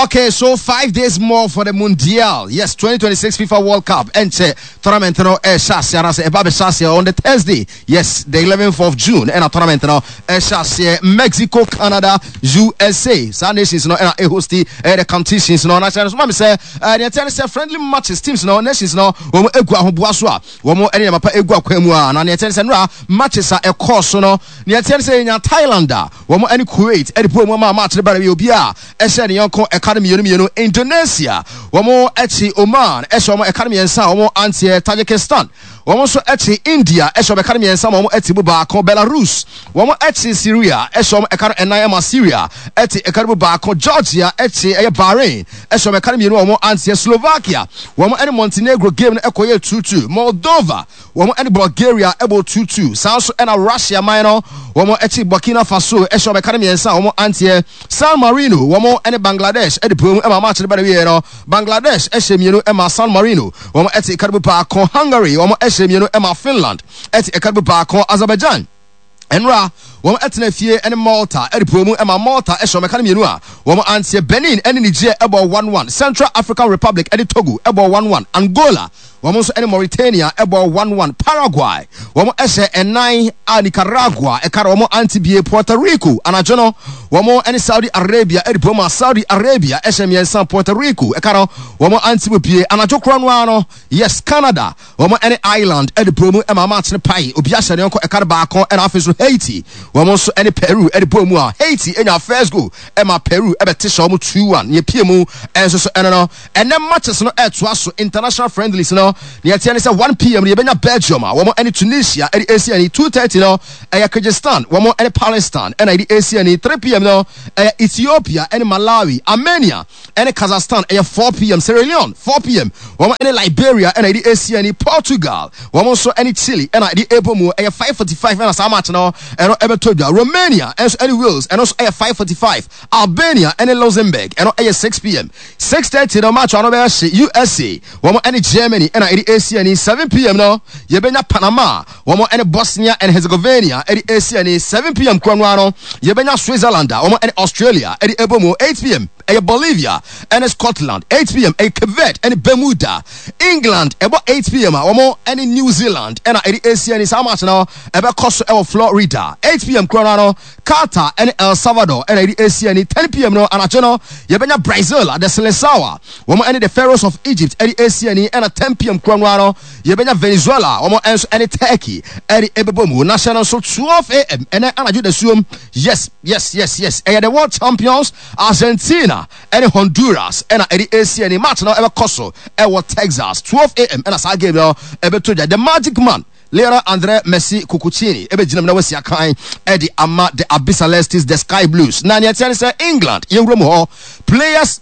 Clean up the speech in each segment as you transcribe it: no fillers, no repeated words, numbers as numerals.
Okay, so 5 days more for the Mundial. Yes, 2026 FIFA World Cup. Ɛnkyɛ tournament no ɛhyɛ aseɛ anaasɛ ɛba bɛhyɛ aseɛ on the Thursday. Yes, the 11th of June. Ɛna tournament no ɛhyɛ aseɛ Mexico, Canada, USA. Saa nations no ɛna ɛhosti ɛyɛ the competitions no. Na kyerɛ no so ma mi sɛ ɛɛ deɛ ɛteɛ ne sɛ friendly matches, teams no, nations no, wɔn egu ahoboa so a wɔn ɛne nneɛma pa egu akwan mu a, na deɛ ɛteɛ ne sɛ nora matches a ɛkɔɔ so no, deɛ ɛteɛ ne sɛ yɛnya Thailand a wɔn ɛne Kuwait ɛde po mu ama match no ba na wie, obi a ɛhyɛ ne yɔnko ɛka no mmienu mmienu. Indonesia wɔn akyi Oman ɛhyɛ wɔn ɛka no mmiɛnsa a wɔn anteɛ. Tajikistan wɔn nso akyi India ɛhyɛ wɔn ɛka no mmiɛnsa ma wɔn ati mu baako. Belarus wɔn akyi Syria ɛhyɛ wɔn ɛka no ɛnan ma Syria ɛte ɛka no mu baako. Georgia akyi ɛyɛ Bahrain ɛhyɛ wɔn ɛka no mmienu a wɔn anteɛ. Slovakia wɔn ɛne Montenegro game no ɛkɔyɛ 2-2. Moldova wɔn ɛne Bulgaria ɛbɔ 2-2. Saa nso ɛna Russia man no wɔn akyi Burkina Faso ɛhyɛ wɔn ɛka no mmiɛnsa a wɔn anteɛ. San Marino wɔn ɛne Bangladesh ɛde pue mu ɛma match no ba na wie no, Bangladesh ɛhyɛ mmienu ɛma San Marino wɔn ɛte ɛka no mu baako. Hungary wɔn ɛhyɛ mmienu ɛma Finland ɛte ɛka no mu baako. Azerbaijan nwura wɔn ɛtena fie ɛne Malta ɛde pue mu ɛma Malta ɛhyɛ wɔn ɛka no mmienu a wɔn anteɛ. Benin ɛne Niger ɛbɔ 1-1. Central African Republic ɛne Togo ɛbɔ 1-1. Angola wɔn nso ɛne Mauritania ɛbɔ 1-1. Paraguay wɔn ɛhyɛ ɛnan a Nicaragua ɛka no wɔn ante bie. Puerto Rico anadwo no wɔn ɛne Saudi Arabia ɛde pue mu a Saudi Arabia ɛhyɛ mmiɛnsa, Puerto Rico ɛka no wɔn ante mu bie. Anadwo korɔ no ara no, yes, Canada wɔn ɛne Ireland ɛde bɔ mu ɛma match no pae, obi ahyɛ ne yɔnko ɛka no baako. Ɛna afei so Haiti wɔn nso ɛne Peru ɛde bɔ mu a Haiti enya first goal ɛma Peru ɛbɛte hyɛ wɔn 2-1. Nea pie mu ɛnso so ɛno no, ɛnɛ matches no ɛtoa so, international friendlies no. Nea ɛteɛ ne sɛ 1 p.m. no yɛbɛnya Belgium a wɔn ɛne Tunisia ɛde esi ani. 2:30 no ɛyɛ Kyrgyzstan wɔn ɛne Palestine ɛna ɛde esi ani. 3 p.m. no ɛyɛ Ethiopia ɛne Malawi. Armenia ɛne Kazakhstan ɛyɛ 4 p.m. Sierra Leone 4 p.m. wɔn ɛne Liberia ɛna ɛde esi ani. Portugal wɔn nso ɛne Chile ɛna ɛde ɛbɔ mu, ɛyɛ 5:45 ɛna saa match no ɛno ɛbɛtɔ dwa. Romania ɛnso ɛne Wales, ɛno nso ɛyɛ 5:45. Albania ɛne Luxembourg, ɛno ɛyɛ 6 p.m. 6:30 no match ano bɛyɛ hye, USA wɔn ɛne Germany ɛna ɛde esi ani. 7 p.m. no yɛbɛnya Panama wɔn ɛne Bosnia and Herzegovina ɛde esi ani. 7 p.m. kuro no ano yɛbɛnya Switzerland a wɔn ɛne Australia ɛde ɛbɔ mu. 8 p.m. ɛyɛ Bolivia ɛne Scotland. 8 p.m. ɛyɛ Cape Verde ɛne Bermuda. England ɛbɔ 8 p.m. a wɔn ɛne New Zealand ɛna ɛde esi ani. Saa match no ɛbɛkɔ so ɛwɔ Florida. 8 p.m. kuro no ano Qatar ɛne El Salvador ɛna ɛde esi ani. 10 p.m. no anadwo no yɛbɛnya Brazil, the Seleção, wɔn ɛne the Pharaohs of Egypt ɛde esi ani. Ɛna 10 p.m. kuro no ano yɛbɛnya Venezuela, wɔn nso ɛne Turkey ɛde ɛbɛbɔ mu. Na hyɛ no nso, 12 a.m. ɛnɛ anadwo dasuom, yes, ɛyɛ the world champions Argentina ɛne Honduras ɛna ɛde esi ani. Match no ɛbɛkɔ so ɛwɔ Texas. 12 a.m. ɛna saa game no ɛbɛtɔ dwa. The Magic Man Lionel Andre Messi Cuccittini ɛbɛgyina mu na wasi akan ɛde ama the Albicelestes, the Sky Blues. Na nea ɛteɛ ne sɛ England yɛwura mu hɔ, players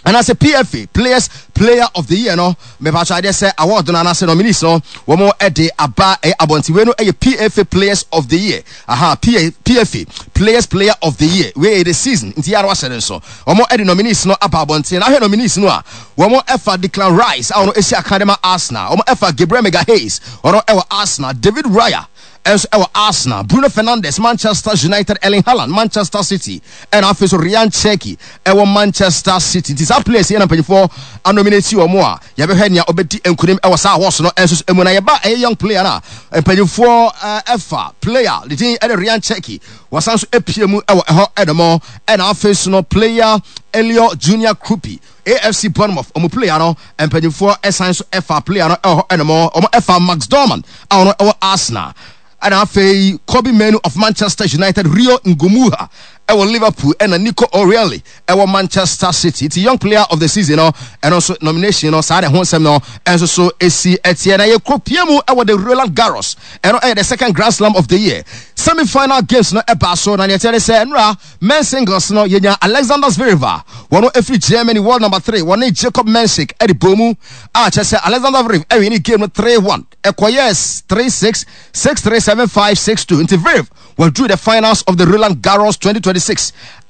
anaasɛ PFA Players Player of the Year no, mepatwa adeɛ sɛ award no anaasɛ nominees no wɔn ɛde aba ɛyɛ abɔnten. Wei no ɛyɛ PFA Players of the Year, aha, PA, PFA Players Player of the Year. Wei yɛ the season nti yɛara wahyɛ ne nso wɔn ɛde nominees no aba abɔnten. Na ahwɛ nominees no a, wɔn ɛfa Declan Rice a ɔno esi akan de ma Arsenal, wɔn ɛfa Gabriel Magalhaes, ɔno ɛwɔ Arsenal, David Raya ɛnso ɛwɔ Arsenal, Bruno Fernandes, Manchester United, Erling Haaland, Manchester City, ɛna afei so Rayan Cherki ɛwɔ Manchester City. Nti saa players yi ɛna mpanyinfoɔ anominate wɔn a yɛbɛhwɛ nea ɔbɛdi nkunim ɛwɔ saa awards no ɛnso so emu. Na yɛba ɛyɛ young player na mpanyinfoɔ ɛfa player ne din ɛde Rayan Cherki, wɔsan so epie mu ɛwɔ ɛhɔ ɛdɔmɔ. Ɛna afei so no player Elio Junior Kroupi, AFC Bournemouth ɔmo player no, mpanyinfoɔ ɛsan so ɛfa player no ɛwɔ hɔ ɛnum. Ɔmo ɛfa Max Dowman a ɔno ɛwɔ Arsenal, ɛna afei Kobbie Mainoo of Manchester United, Rio Ngumoha ɛwɔ Liverpool, ɛna Nico O'Reilly ɛwɔ Manchester City. Ti young player of the season no, ɛno nso nomination no saa de ho nsɛm no ɛnso so esi ɛteɛ. Na yɛkɔ pie mu ɛwɔ the Roland Garros, ɛno ɛyɛ the second Grand Slam of the year, semi final games no ɛbaa so. Na nea ɛteɛ ne sɛ nnura men singles no yɛnya Alexander Zverev a wɔn efiri Germany, world number three, wɔne Jacob Mensik ɛde bɔ mu a kyerɛ sɛ Alexander Zverev ɛwin ne game no 3-1, ɛkɔyɛ 3-6, 6-3, 7-5, 6-2. Nti Zverev wɔduru the finals of the Roland Garros 2026.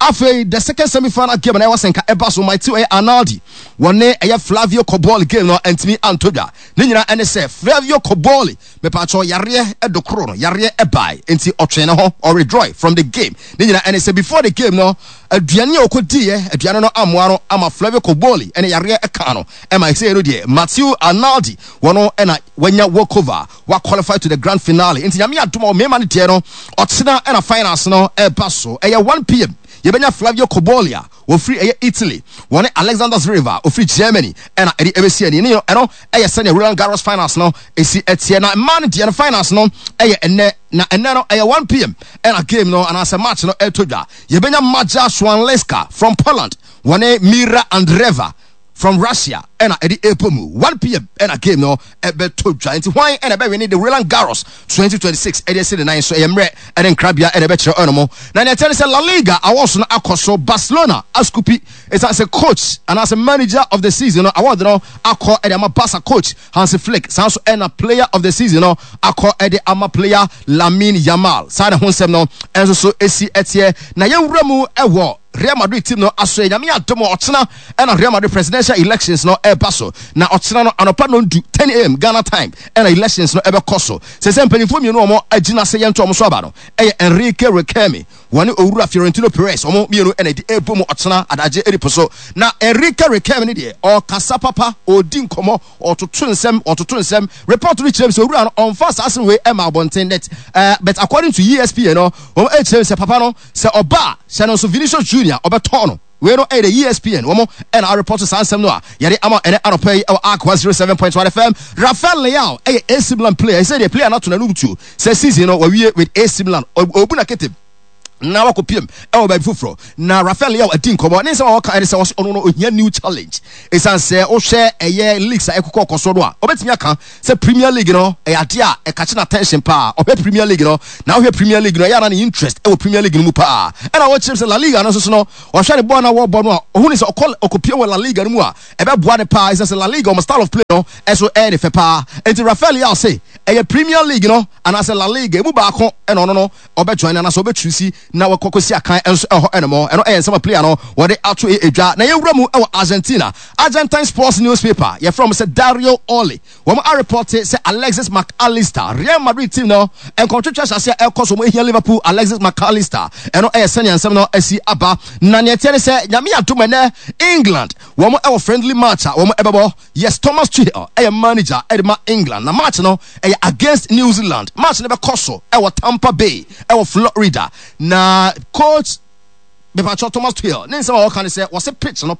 Afei the second semi-final game na ɛwɔ sɛ nka ɛba so Matteo ɛyɛ Arnaldi wɔne ɛyɛ Flavio Cobolli game no ntumi antɔ dwa. Ne nyinaa ɛne sɛ Flavio Cobolli mepatwɔ yareɛ ɛdokoro no, yareɛ ɛbae nti ɔtwe ne ho, ɔwithdraw from the game. Ne nyinaa ɛne sɛ before the game no Aduane a ɔkɔdiiɛ, aduane no ammoa no ama Flavio Cobolli ne yareɛ kaa no ma ɛsei no deɛ Matteo Arnaldi wɔno na wanya walkover, wa qualify to the grand finale. Nti Nyame adom a mmarima no deɛ no ɔkyena na finals no ɛba so. Ɛyɛ 1pm yɛbɛnya Flavio Cobolli a ɔfiri ɛyɛ Italy, wɔne Alexander Zverev a ɔfiri Germany ɛna ɛde ɛbɛsi ani. Ne ɛno ɛyɛ sɛdeɛ Roland Garros finals no ɛsi ɛteɛ. Na mmaa no deɛ no finals no ɛyɛ ɛnnɛ, na ɛnnɛ no ɛyɛ 1pm ɛna game no anaasɛ match no ɛtɔ dwa. Yɛbɛnya Maja Swanleska from Poland wɔne Mira Andreeva from Russia ɛna ɛde ɛpɔ mu 1pm ɛna game no ɛbɛtɔ dwa. Nti hwan ɛna ɛbɛwene the Roland Garros 2026 ɛde asi ne nan so? Ɛyɛ mmerɛ ɛne nkrabea ɛna ɛbɛkyerɛ ɛno mo. Na nea ɛteɛ ne sɛ La Liga awards no akɔ so, Barcelona askupi ɛsiane sɛ coach anaasɛ manager of the season no award no akɔ ɛde ama Barca coach Hansi Flick, saa nso ɛna player of the season no akɔ ɛde ama player Lamine Yamal. Saa na ho nsɛm no ɛnso so ɛsi ɛteɛ. Na yɛnwura mu ɛwɔ Real Madrid team no aso. Nyame adom a ɔkyena ɛna Real Madrid presidential elections no ɛba so. Na ɔkyena no anɔpa nondu, 10 a.m. Ghana time, ɛna elections no ɛbɛkɔ so. Sɛ mpanyinfoɔ mmienu a wɔn agyina sɛ yɛnto wɔn so aba no ɛyɛ Enrique Riquelme wɔne owura Fiorentino Perez, wɔn mmienu ɛna ɛde ɛbɔ mu ɔkyena adagye ɛdi po so. Na Enrique Riquelme ne deɛ ɔkasa papa, ɔdi nkɔmɔ, ɔtoto nsɛm, ɔtoto nsɛm. Report no kyerɛ mu sɛ owura no ɔnfa saa asɛm wei ɛma abɔnten net, but according to ESPN no, wɔn ɛkyerɛ mu sɛ papa no sɛ ɔba a hyɛ no nso Vinicius Junior ɔbɛtɔn no. Wei no ɛyɛ the ESPN wɔn ɛna arepɔto saa nsɛm no a yɛde ama ɛnɛ anɔpa yi ɛwɔ Ark 107.1 FM. Rafael Leao ɛyɛ AC Milan player. Ɛsɛ deɛ player no ato n'anum tuo sɛ season no wawie with AC Milan, ɔbu na kete na wakɔ piem ɛwɔ baabi foforɔ. Na Rafael Leao adi nkɔmɔ ne nsɛm a wɔka ɛne sɛ wɔsɛ ɔno no ohia new challenge, ɛsiane sɛ wohwɛ ɛyɛ leagues a ɛkokɔ kɔ so no a, ɔbɛtumi aka sɛ Premier League no ɛyɛ adeɛ a ɛkakye na attention paa. Ɔhwɛ Premier League no, na wohwɛ Premier League no, ɛyɛ ana ne interest ɛwɔ Premier League no mu paa. Ɛna wɔkyerɛ sɛ La Liga no nso so no, ɔhwɛ ne bɔɔl na wɔbɔ no a, ɔhu ne sɛ ɔkɔ ɔkɔpie wɔ La Liga no mu a, ɛbɛboa ne paa, ɛsiane sɛ La Liga ɔmo style of play no ɛso ɛyɛ ne fɛ paa. Nti Rafael Leao se ɛyɛ Premier League no anaasɛ La Liga emu baako ɛna ɔno no ɔbɛjoin anaasɛ ɔbɛtusi na wɔkɔ kɔsi akan nso ɛhɔ ɛnom. Ɛno ɛyɛ nsɛm a player no wɔde ato edwa. Na yɛwura mu ɛwɔ Argentina, Argentine sports newspaper yɛfrɛ wɔn sɛ Dario Oli, wɔn arepɔte sɛ Alexis Mac Allister, Real Madrid team no nkɔmtwetwe ahyɛ aseɛ ɛkɔ so, wɔn ehia Liverpool Alexis Mac Allister. Ɛno ɛyɛ sɛnea nsɛm no asi aba. Na nea ɛteɛ ne sɛ Nyame adom, ɛnɛ England wɔn ɛwɔ friendly match a wɔn ɛbɛbɔ. Yes, Thomas Tuchel ɛyɛ manager ɛde ma England, na match no ɛyɛ against New Zealand. Match no bɛkɔ so ɛwɔ Tampa Bay ɛwɔ Florida. Na coach mepatwɔ Thomas Tuchel ne nsɛm a wɔka ne sɛ wɔse pitch no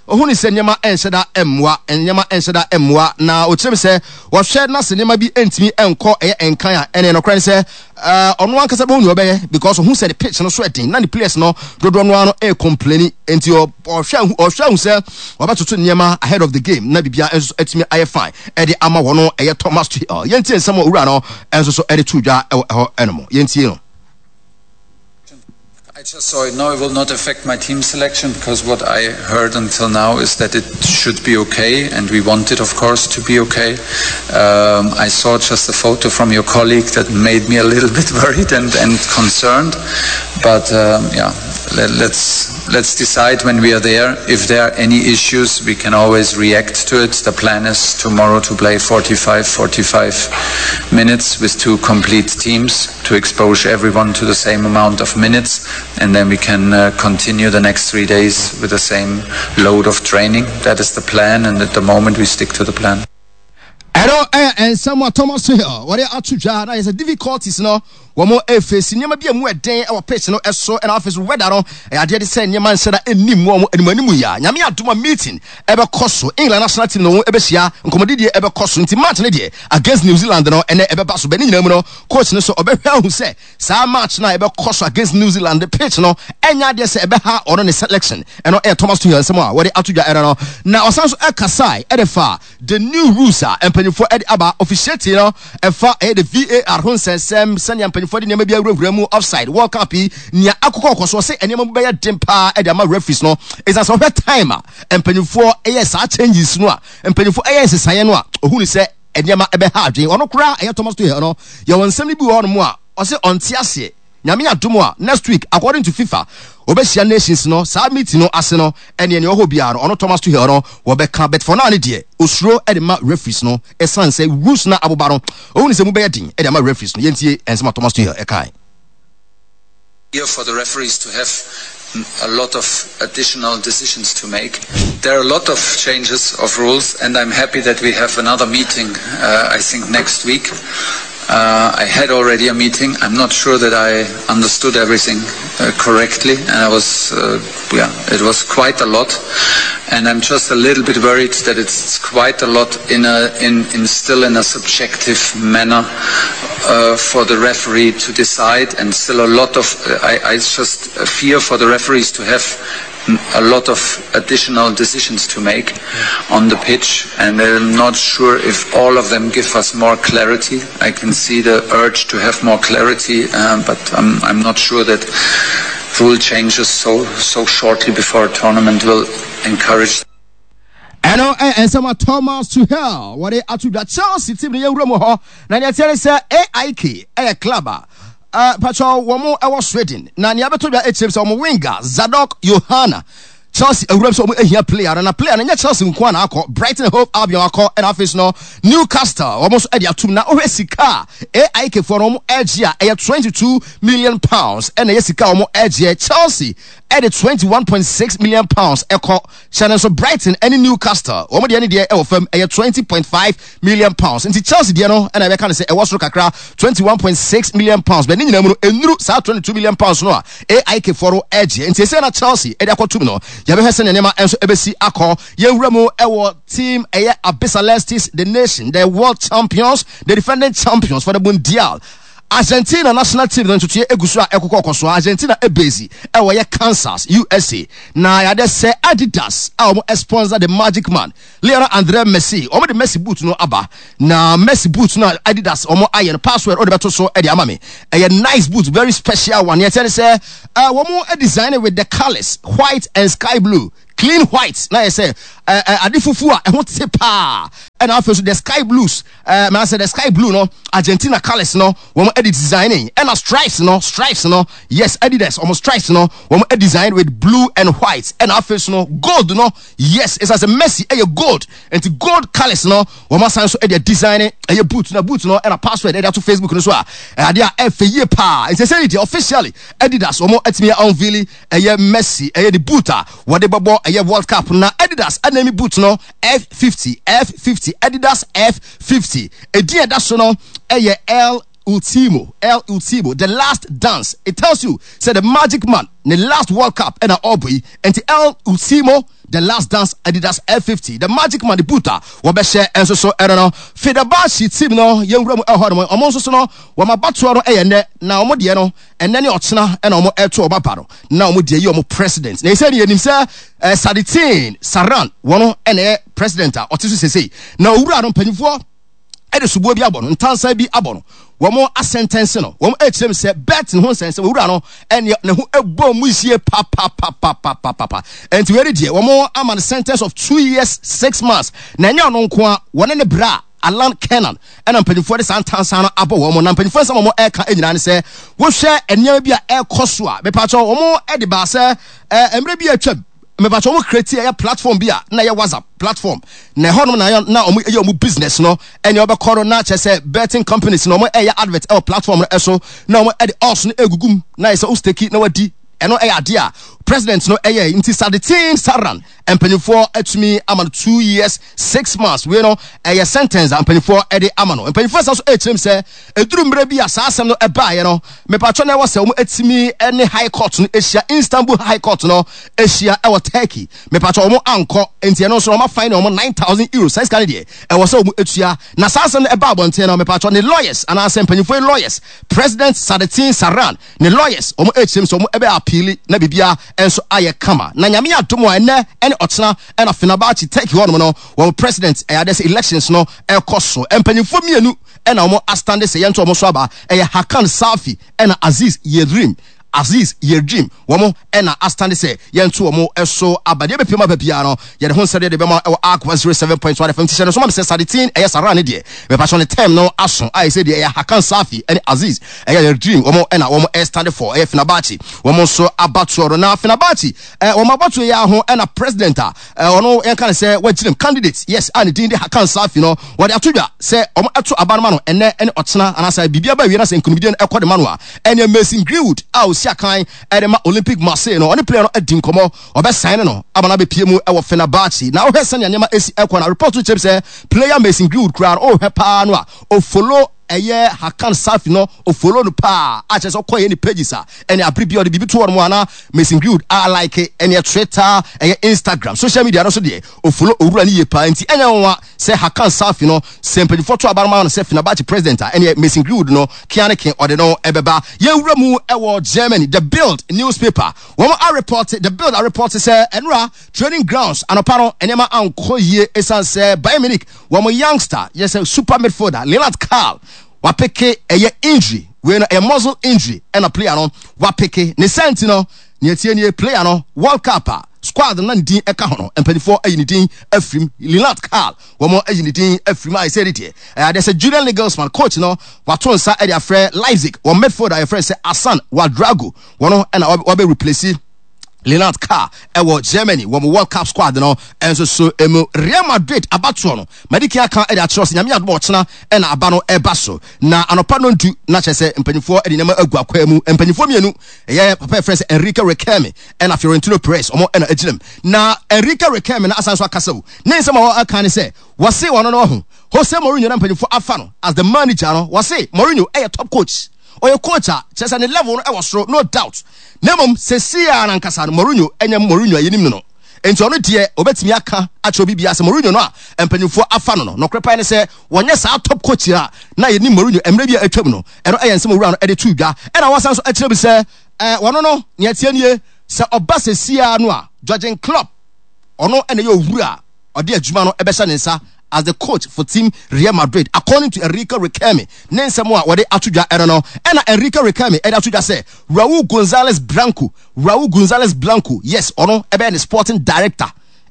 ohun sɛ nneɛma ɛnhyɛ da mmoa, nneɛma ɛnhyɛ da mmoa. Na ɔkyerɛ mi sɛ wɔhwɛ na sɛ nneɛma bi ntumi nkɔ ɛyɛ nkan a, ɛne nɔkorɛ ne sɛ ɔno ankasa bɛhu nea ɔbɛyɛ, because ohun sɛ ne pitch no so ɛden na ne players no dodoɔ no ara no ɛcomplaini. Nti ɔhwɛ ahu sɛ ɔbɛtoto nneɛma ahead of the game na biribiara nso atumi ayɛ fine ɛde ama wɔn. Ɛyɛ Thomas Tuchel. Yɛntie nsɛm a owura no nso so ɛde to dwa ɛwɔ ɛhɔ ɛnom. Yɛntie no. I just saw it. No, it will not affect my team selection because what I heard until now is that it should be okay, and we want it, of course, to be okay. I saw just a photo from your colleague that made me a little bit worried and concerned. But yeah, let's decide when we are there. If there are any issues, we can always react to it. The plan is tomorrow to play 45, 45 minutes with two complete teams to expose everyone to the same amount of minutes, and then we can continue the next 3 days with the same load of training. That is the plan, and at the moment we stick to the plan. Ɛno ɛyɛ nsɛm a Thomas Tuchel wɔde ato dwa. Na yɛ sɛ difficulties no wɔn efesi nneɛma bi a mu ɛden ɛwɔ pitch no ɛso, ɛna afei so weather no ɛyɛ adeɛ de sɛ nneɛma nhyɛ da ɛnim wɔn anim anim yi a. Nyame adom a, meeting ɛbɛkɔ so, England national team no wɔn ɛbɛhyia, nkɔmɔdidie ɛbɛkɔ so. Nti match no deɛ against New Zealand no ɛnɛ ɛbɛba so bɛ ne nyinaa mu no, coach no so ɔbɛhwɛ ahu sɛ saa match no a ɛbɛkɔ so against New Zealand, pitch no ɛnyɛ adeɛ sɛ ɛbɛha ɔno ne selection. Ɛno ɛyɛ Thomas Tuchel nsɛm a wɔde ato dwa ɛno no. Na ɔsan so ɛkasae ɛde fa the new rules a mpanyinfoɔ ɛde aba officiating no, ɛfa ɛyɛ the VAR ho nsɛnsɛm, sɛnea mpanyinfoɔ de nneɛma bi awurawura mu, offside, World Cup yi nea akokɔ kɔ so. Ɔsɛ nneɛma mu bɛyɛ den paa ɛde ama referees no, ɛsan sɛ ɔhwɛ time a mpanyinfoɔ ɛyɛ saa changes no a mpanyinfoɔ ɛyɛ nsesaeɛ no a, ohun sɛ nneɛma ɛbɛha adwene ɔno koraa. Ɛyɛ Thomas Tuchel no, yɛwɔ nsɛm no bi wɔ hɔnom a ɔsɛ ɔnte aseɛ. Nyame adom a, next week, according to FIFA, wɔbɛhyia nations no. Saa meeting no ase no, ɛneɛ nea ɔhɔ biara no, ɔno Thomas Tuchel no wɔbɛka. But for now ne deɛ, osuro ɛde ma referees no, ɛsiane sɛ rules no aboba no, ɔhu ne sɛ mu bɛyɛ den ɛde ama referees no. Yɛntie ɛnsɛm a Thomas Tuchel ɛkae. For the referees to have a lot of additional decisions to make. There are a lot of changes of rules, and I'm happy that we have another meeting, uh, I think, next week. Uh, I had already a meeting. I'm not sure that I understood everything uh, correctly, and I was, uh, yeah, it was quite a lot. And I'm just a little bit worried that it's quite a lot in a, in, in still in a subjective manner uh, for the referee to decide, and still a lot of, uh, I, I just fear for the referees to have a lot of additional decisions to make on the pitch, and I'm not sure if all of them give us more clarity. I can see the urge to have more clarity, um, but I'm, I'm not sure that rule changes so so shortly before a tournament will encourage. ɛno nsɛm a Thomas Tuchel wɔde ato dwa Chelsea team no yɛwura mu hɔ na nea ɛteɛ ne sɛ AIK ɛyɛ club a Uh, patro, wɔn ɛwɔ Sweden na nea abɛtɔ dwa akyerɛ sɛ wɔn winger Zadok Yohana Chelsea awuram sɛ wɔn ahia player no na player no nyɛ Chelsea nko na akɔ Brighton Hove Albion akɔ ɛna afei so no Newcastle wɔn nso ɛde atum na wohwɛ sika a AIK foɔ no wɔn ɛgye a ɛyɛ 22 million pounds ɛna ɛyɛ sika a wɔn ɛgyeɛ Chelsea ɛde 21.6 million pounds ɛkɔ Hyɛ no nso Brighton ne Newcastle wɔn deɛ ne deɛ ɛwɔ fam ɛyɛ 20.5 million pounds nti Chelsea deɛ no ɛna ɛbɛka no sɛ ɛwɔ soro kakra 21.6 million pounds bɛ ne nyinaa mu no ɛnuru saa 22 million pounds no a AIK foɔ no ɛgyeɛ nti ɛsɛ na Chelsea ɛde akɔtum no yɛbɛhwɛ sɛnea nneɛma nso ɛbɛsi akɔ yɛnwura mu ɛwɔ team ɛyɛ Abisalestis the nation the world champions the defending champions for the Mundial Argentina national team no ntotoeɛ egu so a ɛkokɔ kɔ so. Argentina ebase ɛwɔ yɛ Kansas, USA. Na yɛade sɛ Adidas a wɔn sponsor the Magic Man, Lionel Andre Messi. Wɔn de Messi boot no aba. Na Messi boot no a Adidas wɔn ayɛ no password wɔde bɛto so ɛde ama me. Ɛyɛ nice boot, very special one. Yɛkyɛ ne sɛ wɔn design with the colors white and sky blue. Clean white na yɛ sɛ ade fufuo a ɛho te paa. Ɛna afei so the sky blues Eh, mɛ sɛ the sky blue no, Argentina colors no, wɔn ɛde designing. Ɛna stripes no, stripes no, yes, Adidas, wɔn stripes no, wɔn design with blue and white. Ɛna afei so no, gold no, yes, ɛsɛ sɛ Messi ɛyɛ gold. Nti gold colors no, wɔn asan so ɛde design ɛyɛ boot na boot no, ɛna password ɛde ato Facebook no so a, ɛade a ɛfɛ yie paa. Nti sɛ deɛ officially Adidas wɔn atumi unveil ɛyɛ Messi ɛyɛ the boot a wɔde bɛbɔ ɛyɛ World Cup na Adidas ɛna mi boot no F50, F50, Adidas F50. Edin a ɛda so no yɛ El Ultimo, El Ultimo, the last dance. It tells you, sɛ the magic man, ne last World Cup ɛna ɔrebɔ yi. Nti El Ultimo, the last dance, Adidas F50, the magic man, the boot a wɔbɛhyɛ nso so ɛno no. Fenerbahce team no, yɛn wura mu ɛhɔ nom, wɔn nso so no, wɔn abatoɔ no yɛ nnɛ, na wɔn deɛ no, ɛnɛ ne ɔkyena ɛna wɔn ɛto wɔn aba no na wɔn deɛ yi wɔn president na ɛsɛ ne yɛnim sɛ eh, Saditin Saran wɔn ɛna ɛyɛ president a ɔte so sesei na owura no mpanyinfoɔ ɛde soboɔ bi abɔ no ntansa bi abɔ no wɔn asɛntɛnse no wɔn ɛkyerɛ mu sɛ bɛt ne ho nsɛnsɛm owura no ɛne ne ho ɛbɔ mu yie papapapapapa ɛnti wei deɛ wɔn ama no sentence of 2 years 6 months na ɛnyɛ ɔno nko a wɔne ne bra Alan Kernan ɛna mpanyinfoɔ de saa ntansa no abɔ wɔn na mpanyinfoɔ nsɛm a wɔn ɛreka nyinaa ne sɛ wohwɛ nneɛma bi a ɛrekɔ so a mepatwɛ wɔn ɛde baa sɛ ɛɛ mmerɛ bi a atwam mepatwɛ wɔn create ɛyɛ platform bi a na ɛyɛ WhatsApp platform na ɛhɔnom na na wɔn ɛyɛ wɔn business no ɛnea wɔbɛkɔ no na kyerɛ sɛ betting companies na wɔn ɛyɛ advert ɛwɔ platform no ɛso na wɔn ɛde odds no egugum na yɛ sɛ o stake na wadi ɛno ɛyɛ adeɛ a president no ɛyɛ nti Sadetin Saran mpanyinfoɔ atumi ama no 2 years 6 months. Wei no ɛyɛ sentence a mpanyinfoɔ ɛde ama no. Mpanyinfoɔ nsa so ɛkyerɛ mu sɛ eduru mmerɛ bi a saa asɛm no ɛbaeɛ no mepatwɛ na ɛwɔ sɛ wɔn atumi ɛne high court no ahyia, Istanbul High Court no ahyia ɛwɔ Turkey. Mepatwɛ wɔn ankɔ nti ɛno nso wɔn afine wɔn €9,000. Saa sika no deɛ ɛwɔ sɛ wɔn atua na saa asɛm no ɛba abɔnten no mepatwɛ ne lawyers anaasɛ mpanyinfoɔ yi lawyers, President Sadetin Saran ne lawyers, wɔn ɛkyerɛ mu sɛ wɔn ɛbɛ appeal na biribiara nso ayɛ kama na Nyame adom a ɛnɛ ɛne ɔkyena ɛna Fenerbahce Turkey hɔnom no wɔn president ɛyɛ adeɛ sɛ elections no ɛkɔ so. Mpanyinfoɔ mmienu ɛna wɔn astande sɛ yɛnto wɔn so aba, ɛyɛ Hakan Safi ɛna Aziz Yildirim. Aziz Yildirim wɔn ɛna astande sɛ yɛnto wɔn so aba. Deɛ bɛpiem aba biara no yɛde ho nsɛdeɛ de bɛma ɛwɔ Ark 107.1 FM. Ti hyɛ no so ma me sɛ Sadetin ɛyɛ Saran ne deɛ mepatwɔ ne term no aso a ɛsɛ deɛ ɛyɛ Hakan Safi ɛne Aziz ɛyɛ Yildirim wɔn ɛna wɔn ɛstande for ɛyɛ Fenerbahce wɔn nso abatoɔ no. Na Fenerbahce wɔn abatoɔ yi ho ɛna president a ɔno yɛnka ne sɛ wagyina candidate, yes, a ne din de Hakan Safi no wɔde ato dwa sɛ wɔn ɛto aba no ma no ɛnɛ ɛne ɔkyena anaasɛ biribi aba awie na sɛ nkonimdie no ɛkɔ de ma no a ɛne Mason Greenwood a osi ɔsi akan ɛde ma Olympique Marseille no, ɔne player no adi nkɔmmɔ, ɔbɛsan no ama no abɛpie mu ɛwɔ Fenerbahce. Na wohwɛ sɛnea nneɛma esi ɛkɔ na report no kyerɛ sɛ player Mason Greenwood koraa no, wohwɛ paa no a, ɔfollow ɛyɛ Hakan Safi no, ɔfollow no paa, a kyerɛ sɛ ɔkɔ yɛ ne pages a, ɛne abere bi ɔde biribi to hɔ nom a na Mason Greenwood a like ɛne Twitter, ɛyɛ Instagram, social media no so deɛ ɔfollow owura no yie paa, nti ɛnyɛ nwanwa sɛ Hakan Safi no, sɛ mpanyinfoɔ to aba no ma no sɛ Fenerbahce president a, ɛneɛ Mason Greenwood no kea ne ke ɔde no ɛbɛba. Yɛnwura mu ɛwɔ Germany, The Bild newspaper, wɔn a report, The Bild a report sɛ ɛnora training grounds anɔpa no nneɛma ankɔ yie ɛsiane sɛ Bayern Munich wɔn youngster yɛ sɛ super midfielder Lennart Karl wapeke ɛyɛ injury, wei no ɛyɛ muscle injury ɛna player no wapeke ne sɛ nti no nea ɛtie nie, player no World Cup a squad no na ne din ɛka ho no mpanimfoɔ ayi ne din afirim. Lennart Karl wɔn ayi ne din afirim a ɛsɛ ne deɛ ɛyɛ adeɛ sɛ Julian Nagelsmann coach no wato nsa ɛde afrɛ Leipzig wɔn midfielder yɛfrɛ sɛ Hassan Ouedraogo, wɔn ɛna wɔbɛ replace Lennart Karl ɛwɔ Germany wɔn World Cup squad no nso so emu. Real Madrid abatoɔ no madiki aka ɛde akyerɛ sɛ Nyame adom ɔkyena ɛna aba no ɛba so na anɔpa no ndu na kyerɛ sɛ mpanyinfoɔ ɛde nneɛma agu akwaa mu. Mpanyinfoɔ mmienu ɛyɛ papa yɛfrɛ sɛ Enrique Riquelme ɛna Florentino Perez ɔmo ɛna agyina mu, na Enrique Riquelme no asan so akasa o. Ne nsɛm a wɔaka ne sɛ wɔse ɔno no ɔho Jose Mourinho na mpanyinfoɔ afa no as the manager no, wɔse Mourinho ɛyɛ top coach, ɔyɛ coach a kyerɛ sɛ ne level no ɛwɔ soro, no doubt, na mmom seesei ara nankasa no Mourinho ɛnyɛ Mourinho a yɛnim no no, nti ɔno deɛ ɔbɛtumi aka akyerɛ obi biara sɛ Mourinho no a mpanyinfoɔ afa no no, nɔkorɛ paa ne sɛ wɔnyɛ saa top coach a na yɛnim Mourinho mmerɛ bi a atwam no. Ɛno ɛyɛ nsɛm owura no ɛde too dwa. Ɛna wɔsan so akyerɛ bi sɛ ɛɛ wɔno no nea ɛteɛ nie, sɛ ɔba seesei ara no a Jurgen Klopp ɔno ɛna ɛyɛ owura a ɔde adwuma no ɛbɛhyɛ ne nsa as the coach for team Real Madrid, according to Enrique Riquelme ne nsɛm a wɔde ato dwa ɛno no. Ɛna Enrique Riquelme ɛde ato dwa sɛ Raul Gonzalez Blanco, Raul Gonzalez Blanco, yes, ɔno ɛbɛyɛ ne sporting director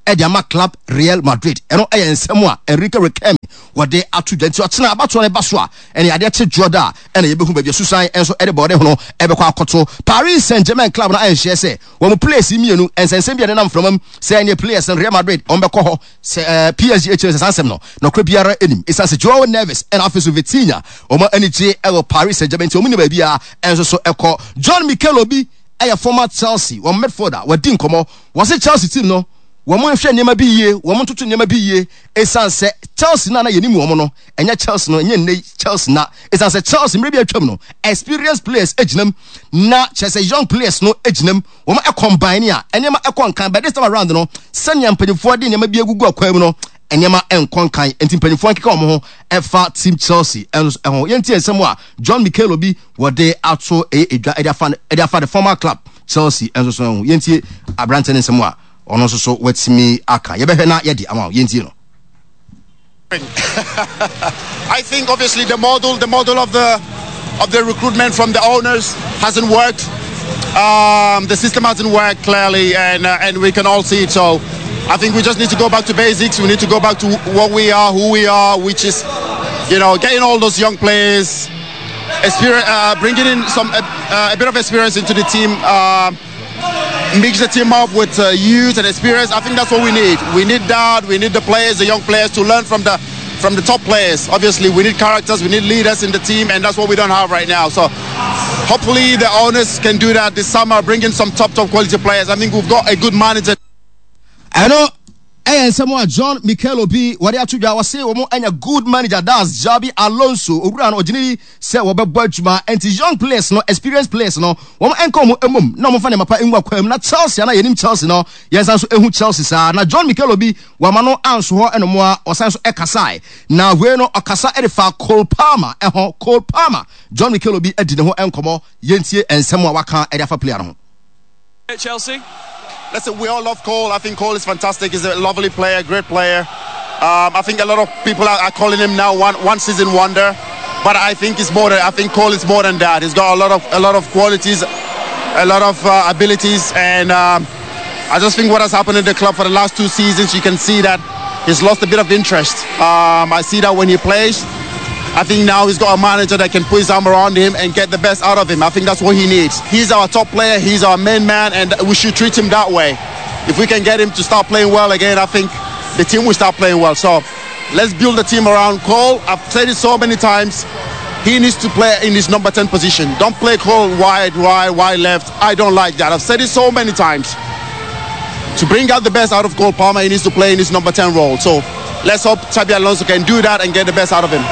ɛde ama club Real Madrid. Ɛno ɛyɛ nsɛm a Enrique Riquelme wɔde ato dwa. Nti ɔkyena abatoɔ no ba so a, ɛne adeɛ kye dwoɔ da a ɛna yɛbɛhu baabi a Susan nso ɛde bɔɔde hono ɛbɛkɔ akɔto. Paris Saint-Germain club no anhyɛ sɛ wɔn players mmienu nsɛnsɛm bi a ɛnenam mframa mu sɛ ɛneɛ players no Real Madrid wɔn bɛkɔ hɔ sɛ ɛɛ PSG akyire sɛ saa nsɛm no nɔkorɛ biara anim, ɛsiane sɛ Joao Neves ɛna afei so Vitinha wɔn ani gye ɛwɔ Paris Saint-Germain nti wɔn ni baabi a ɛnso so ɛkɔ. John Mikel Obi ɛyɛ former Chelsea wɔn midfielder, wɔadi nkɔmmɔ, wɔse Chelsea team no wɔn nhwɛ nneɛma bi yie, wɔn ntoto nneɛma bi yie, ɛsiane sɛ Chelsea no a na yɛnim wɔn no ɛnyɛ Chelsea no, ɛnyɛ nnɛ Chelsea na ɛsiane sɛ Chelsea mmerɛ bi atwam no experienced players gyinam na kyerɛ sɛ young players no gyinam, wɔn combine a nneɛma ɛkɔ nkan, but this time around no sɛnea mpanyinfoɔ de nneɛma bi agugu akwan mu no nneɛma nkɔ nkan, nti mpanyinfoɔ nkeka wɔn ho ɛfa team Chelsea ɛnso ɛho. Yɛntie nsɛm a John Mikel Obi wɔde ato ɛyɛ edwa ɛde afa ɛde afa the former club Chelsea ɛnso so ɛho. Yɛntie aberante ne nsɛm a ɔno nso so watumi aka, yɛbɛhwɛ na yɛde ama yɛntie no. I think obviously the model, the model of the of the recruitment from the owners hasn't worked. The system hasn't worked clearly, and and we can all see it. So I think we just need to go back to basics. We need to go back to what we are, who we are, which is, you know, getting all those young players, experience, bringing in some a bit of experience into the team. Mix the team up with youth and experience. I think that's what we need. We need that. We need the players, the young players, to learn from the from the top players. Obviously, we need characters, we need leaders in the team, and that's what we don't have right now. So hopefully the owners can do that this summer, bring in some top, top quality players. I think we've got a good manager. I know. Ɛyɛ nsɛm a John Mikel Obi wɔde ato dwa, wɔse wɔn anya good manager, that's Xabi Alonso. Owura no ɔgyina yi sɛ wɔbɛbɔ adwuma, nti young players no, experienced players no, wɔn nka wɔn mmom na wɔn fa nneɛma pa ngu akwan mu na Chelsea ana yɛnim Chelsea no, yɛn san so ehu Chelsea saa. Na John Mikel Obi wama no anso hɔ ɛnom a ɔsan so ɛkasae, na wei no ɔkasa ɛde fa Cole Palmer ɛho. Cole Palmer, John Mikel Obi adi ne ho nkɔmɔ, yɛntie nsɛm a waka ɛde afa player no ho. At Chelsea? Listen, we all love Cole. I think Cole is fantastic. He's a lovely player, great player. I think a lot of people are, are calling him now one, one season wonder, but I think he's more than, I think Cole is more than that. He's got a lot of a lot of qualities, a lot of abilities, and I just think what has happened in the club for the last two seasons, you can see that he's lost a bit of interest. I see that when he plays. I think now he's got a manager that can put his arm around him and get the best out of him. I think that's what he needs. He's our top player, he's our main man, and we should treat him that way. If we can get him to start playing well again, I think the team will start playing well. So let's build the team around Cole. I've said it so many times. He needs to play in his number 10 position. Don't play Cole wide, wide, wide left. I don't like that. I've said it so many times. To bring out the best out of Cole Palmer, he needs to play in his number 10 role. So let's hope Xabi Alonso can do that and get the best out of him.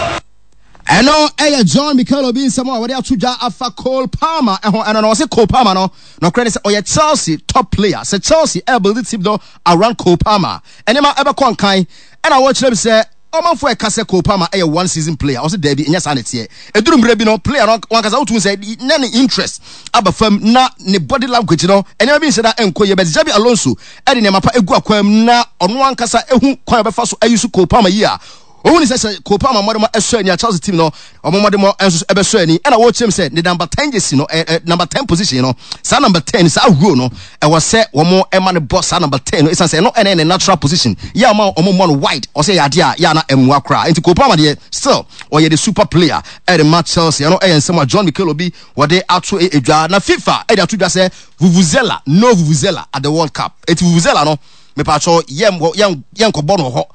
Ɛno yɛ John Mikel Obi nsɛm a wɔde ato dwa afa Cole Palmer ho. Ɛno no, ɔse Cole Palmer no, nɔkorɛ ne sɛ ɔyɛ Chelsea top player. Sɛ Chelsea ɛrebuild team no around Cole Palmer a, nneɛma ɛbɛkɔ nkan. Ɛna wɔkyerɛ mu sɛ ɔmanfoɔ ɛka sɛ Cole Palmer ɛyɛ one season player. Ɔse daabi, ɛnyɛ saa na ɛteɛ. Ɛduru mmerɛ bi no, player no wankasa wotumi sɛ na ne interest aba fam na ne body language no, nneɛma bi nhyɛ da ɛnkɔ yie. But Xabi Alonso ɛde nneɛma pa egu akwan mu na ɔno ankasa ehu kwan a ɔbɛfa so ayi so Cole Palmer yie a, Ohun sɛ sɛ Cole Palmer mmɔdemmɔ sɔ ani a, Chelsea team no wɔn mmɔdemmɔ nso bɛsɔ ani. Ɛna wɔrekyerɛ mu sɛ ne number ten jersey no, number ten position no, saa number ten, saa role no, ɛwɔ sɛ wɔn ma no bɔ saa number ten no, ɛsiane sɛ ɛno ɛna ne natural position. Yɛ a wɔn mmɔ no wide, ɔsɛ yɛ adeɛ a yɛ a na ɛmmoa koraa. Nti Cole Palmer deɛ still ɔyɛ the super player ɛde ma Chelsea. Ɛno ɛyɛ nsɛm a John Mikel Obi wɔde ato edwa. Na FIFA ɛde ato dwa sɛ Vuvuzela, no Vuvuzela at the World Cup. Eti Vuvuzela no, mepatwɔ yɛn yɛn yɛnkɔbɔ no wɔ hɔ.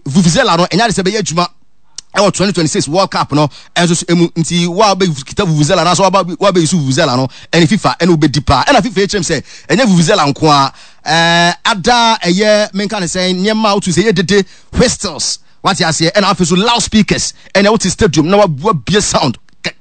Vuvuzela no ɛnyɛ ade sɛ ɛbɛyɛ adwuma ɛwɔ 2026 World Cup no ɛnso so emu nti wa bɛ kita Vuvuzela na so wa wa bɛ yusu Vuvuzela no ɛne FIFA ɛne wobɛdi paa ɛna FIFA ekyirem sɛ ɛnyɛ Vuvuzela nko a ɛɛ ada ɛyɛ menka ne sɛn nneɛma a wotu sɛ ɛyɛ dede whistles wate aseɛ ɛna afei so loudspeakers ɛna wote stadium na wabue sound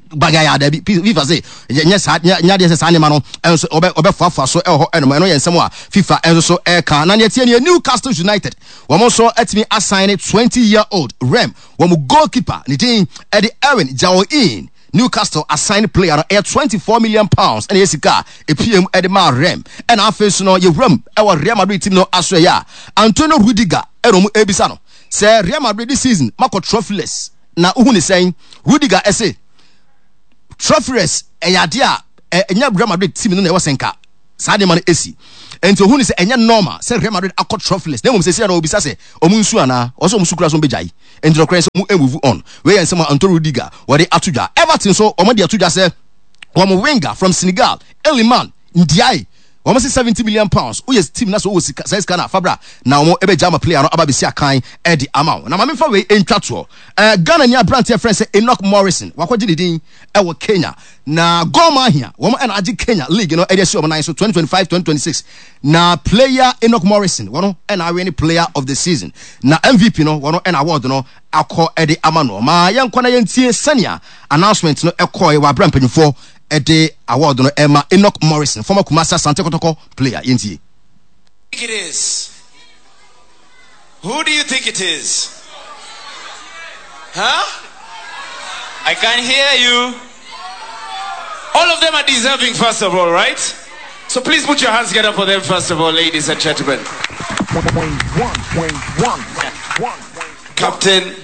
bagaya dabi FIFA se nyɛ saa nyɛ adeɛ sɛ saa nneɛma no ɛnso ɔbɛ ɔbɛfoafoa so ɛwɔ hɔ ɛnom ɛno yɛ nsɛm a FIFA ɛnso so ɛka na neɛ tie neɛ Newcastle United wɔn nso atumi asan ne 20 year old Rem wɔn goalkeeper ne din ɛde Erin Jaoin Newcastle asan player no ɛyɛ 24 million pounds ɛna ɛyɛ sika a epiem ɛde maa Rem ɛna afei so no yɛwuram ɛwɔ Real Madrid team no aso ɛyɛ a Antonio Rudiger ɛna wɔn ɛbisa no sɛ Real Madrid this season makɔ trophyless Na wohu ne sɛn? Rudiger se, Trophyless ɛyɛ adeɛ a ɛnyɛ Real Madrid team no na ɛwɔ sɛ nka saa nneɛma no esi. Enti ohun ne sɛ ɛnyɛ normal sɛ Real Madrid akɔ trophyless. Na mmom seesei no obisa sɛ wɔn nsu anaa? Ɔsɛ wɔn su koraa sɛ wɔbɛgyae. Enti nokorɛ sɛ wɔn move on. Wei yɛ nsɛm a Antonio Rudiger wɔde ato dwa. Everton nso wɔde ato dwa sɛ wɔn winger from Senegal, Iliman Ndiaye, Wɔn se 70 million pounds, woyɛ team na sɛ wowɔ sika, saa sika no a, fa bra na wɔn bɛgya ama player no aba abɛsi akan de ama wo. Na ma memfa wei ntwa toɔ. Eh, Ghana ni aberanteɛ frɛ sɛ Enoch Morrison, wakɔgye ne din wɔ Kenya. Na Gor Mahia, wɔn na agye Kenya league no de asi wɔn nan so 2025-2026. Na player Enoch Morrison, wɔn na awe ne player of the season. Na MVP no, wɔn na award no akɔ de ama no. Ma yɛnkɔ na yɛntie sɛnea announcement no kɔɔe wɔ abere a mpanyinfoɔ de award no rema Enoch Morrison, former Kumasi Asante Kotoko player. Yɛntie. Think it is? Who do you think it is? Huh? I can't hear you. All of them are deserving, first of all, right? So please put your hands together for them, first of all, ladies and gentlemen. Captain,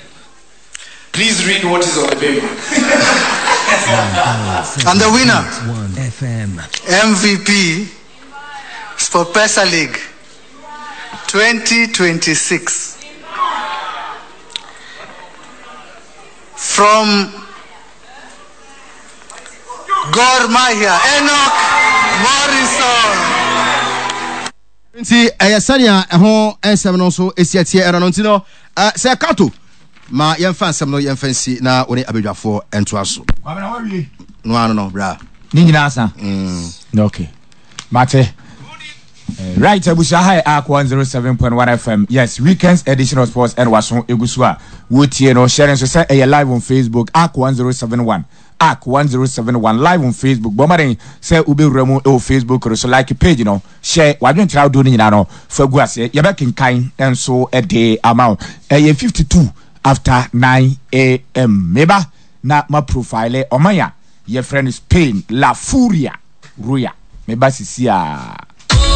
please read what is on the paper. And the winner, MVP, SportPesa League 2026. From Gor Mahia, Enoch Morrison. Nti ɛyɛ sɛnea ɛho nsɛm no nso esi ɛteɛ ɛno no nti no sɛ kato ma yɛmfa nsɛm no yɛmfa nsi na wo ne abadwafoɔ ntoa so. Kwabena wawie. No ano no bra. Ne nyinaa sa. Okay. Mate. Right, abusua ha yɛ Ark 107.1 FM. Yes, weekends edition of sports ɛna waso egu so a wotie no. Share nso sɛ ɛyɛ live on Facebook Ark 1071. Ark 1071 live on Facebook. Bɔ mmɔden sɛ wobɛwura mu ɛwɔ Facebook no so like page no. Hyɛ w'adwenkyerɛ ahodoɔ no nyinaa no fa gu aseɛ. Yɛbɛkenkan nso de ama wo. Ɛyɛ 52 after 9 am. Meba na ma profile ɔman a yɛfrɛ no Spain, La Furia Roya. Meba sisi a.